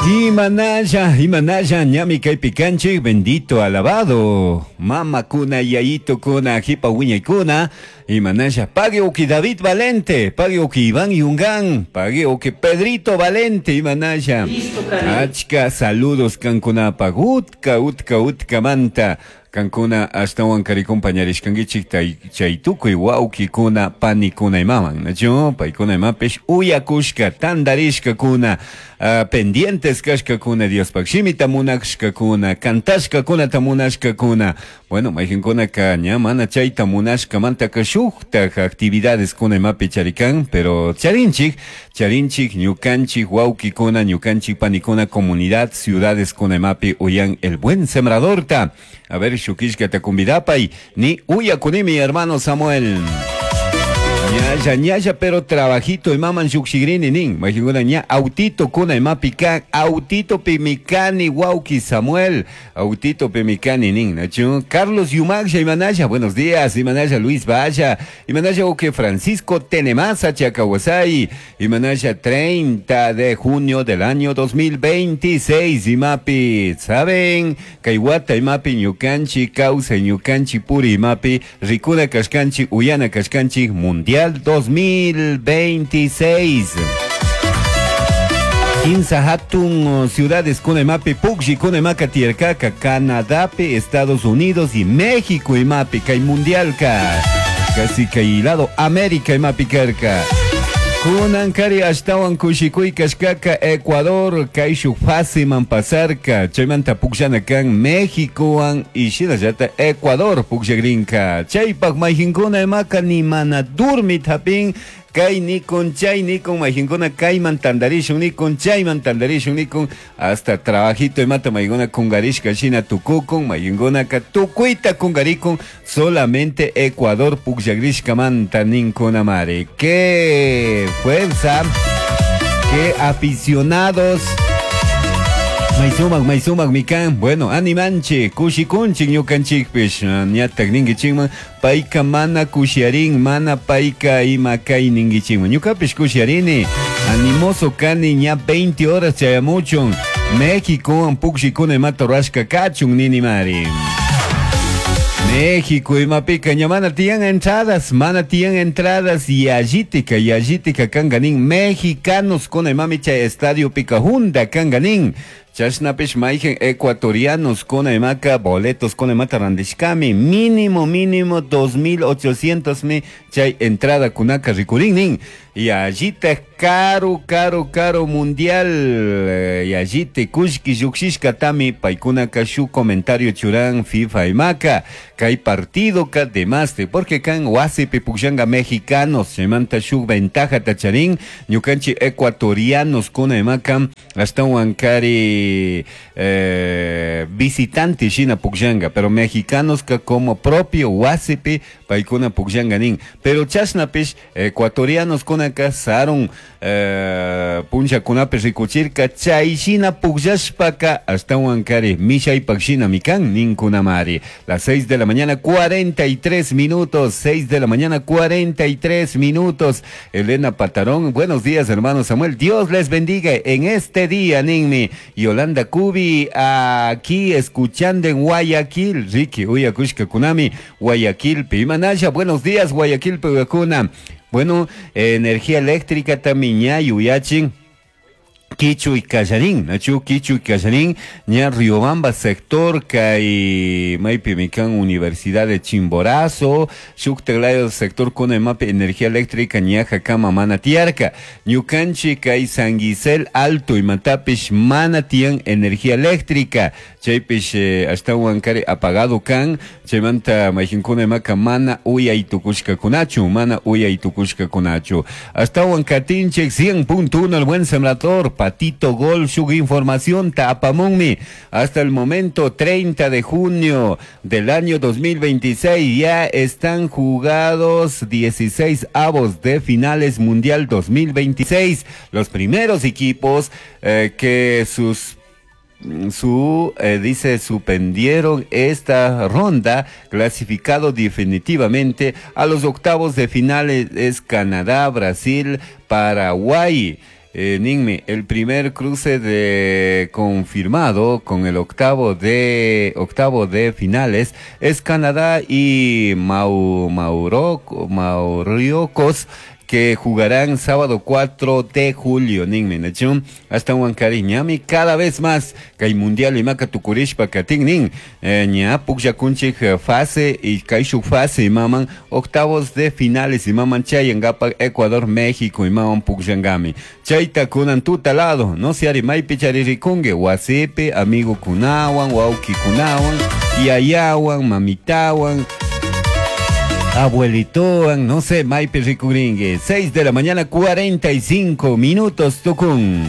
Imanalla, imanalla, ñami kaypi kanchik, bendito, alabado. Mamakuna, yayitukuna, jipa wiñaykuna, imanalla, pague uki David Valente, pague uki Iván Yungán, pague uki Pedrito Valente, imanalla. Achka saludos kankunapaq, utka, utka, utkamanta. Kankuna ashtawan kari compañarishkankichik chay tukuy wawkikuna panikuna imaman, nachu? Paykuna imapish uyakushka, tandarishkakuna, pendientes kashkakuna, Diospaj shimita munashkakuna, cantashkakunata munashkakuna. Bueno, mayqinkunaka ña mana chayta munashkamantaka shuktaj actividades kuna imapi charikan, pero charinchik, charinchik ñukanchik wawkikuna, ñukanchik panikuna, comunidad, ciudades kuna imapi uyan El Buen Sembradorta. A ver, shukishkata convidapay, ni uyakunimi, hermano Samuel. Ñalla, ñalla, pero trabajito imaman llukshigrini nin. Mayqinkuna ña autito kuna imapi kan, autito pimikani wawki Samuel, autito pimikani nin, nachu? Carlos Yumagsha, imanalla, buenos días, imanalla Luis Valla, imanalla uke Francisco Tenemasa, Chacahuasay, imanalla 30 de junio del año 2026, imapi, ¿saben? Kay wata imapi ñukanchi, kawsay ñukanchi puri imapi, rikuna kashkanchi, uyana kashkanchi, Mundial 2026. Kinsa hatun ciudades kuna imapi, pukshi kuna imaka tiyarkaka, Canadapi, Estados Unidos y México imapi, kay mundialka, casi kay lado América imapi karka. Kunankari ashtawan kushikuy kashkaka Ecuador kayshuk fasiman pasarka, chaymanta pukllana kan Méxicowan y shinallata Ecuador pukllakrinka. Chaypak mayqinkuna imaka ni mana durmit hapin, kay nikun chay nikun mayqinkuna kayman tandarishun nikun chayman tandarishun nikun, hasta trabajito imata maykuna kungarishka shina tukukun, mayqinkunaka tukuyta kungarikun, solamente Ecuador pukllakrishkamanta ninkuna mari. ¡Qué fuerza! ¡Qué aficionados! Maysumak, maysumak mikan. Bueno, animanchik, kushikunchik ñukanchikpish, ñatak ninkichikman, payka mana kushiarin, mana payka ima kay ninkichikman. Ñukapish kushiarini, animoso kani ña 20 horas chayamuchun, México pukshikuna imata rurashka kachun ninimari. México imapika ña mana tiyan entradas, mana tiyan entradas y allitika, y allitika kanganin mexicanos kuna imami chay estadio pika hunda kanganin. Chashnapish mayqin ecuatorianos kuna imaka boletos kuna imata randishkami, mínimo, mínimo 2800 mi chay entrada kunaka rikurin Y allita caro, caro, caro mundial. Y allite kushki llukshishka tami paykunaka shu comentario churan FIFA imaka. Kay partido ka demaste, porque kan wasipi pukllanga mexicanos, chaymanta shuk ventaja tacharin, ñukanchik ecuatorianos kuna imaka, ashtawan kari visitante shina pukllanga, pero mexicanos ka como propio wasipi paykuna pukllanga nin. Pero chashnapish ecuatorianos kunaka sarun punllakunapi rikuchirka chay shina pukllashpaka ashtawan kari mishaypak shina mikan ninkunamari. Las 6 de la mañana 43 minutos, 6 de la mañana 43 minutos. Elena Patarón, buenos días hermano Samuel, Dios les bendiga en este día, ninmi. Yolanda Cubi, aquí escuchando en Guayaquil, Ricky, uyakushka kunami, Guayaquil, Pimanaya, buenos días Guayaquil, Puyacuna. Bueno, energía eléctrica también ña yuyachin. Kichu y Callarín, Nachu, Kichu y Callarín, ña Riobamba sector, kay maypi mikan Universidad de Chimborazo, shuktaklayo sector kuna imapi energía eléctrica ña hakama mana tiarka, ñukanchi kay San Gisel Alto imatapish mana tiyan energía eléctrica, chaypish ashtawan kari apagado kan, chaymanta mayqinkuna imaka mana uyay tukushkakunachu, mana uyay tukushkakunachu. Ashtawan katinchik 100.1 El Buen Sembrador, Patito Gol, su información tapamunmi. Hasta el momento, 30 de junio del año 2026, ya están jugados 16 avos de finales Mundial 2026. Los primeros equipos que sus su dice, suspendieron esta ronda, clasificado definitivamente a los octavos de finales es Canadá, Brasil, Paraguay. Ninmi, el primer cruce de confirmado con el octavo de finales es Canadá y Mauriocos, que jugarán sábado 4 de julio, ninmi, nachun, ashtahuancarin ñami cada vez más kay mundial imaka tukurishpa katin nin, ña pukllakunchik fase y kayshuk fase imaman octavos de finales imaman chayangapak Ecuador México imaman pukllangami. Chayta kunan tuta lado, no se ari maypi charirikunki, wasipi, amigo kunawan, wawki kunawan, yayawan, mamitawan, abuelitowan, no sé, maypi rikurinki. 6 de la mañana, 45 minutos, tukun.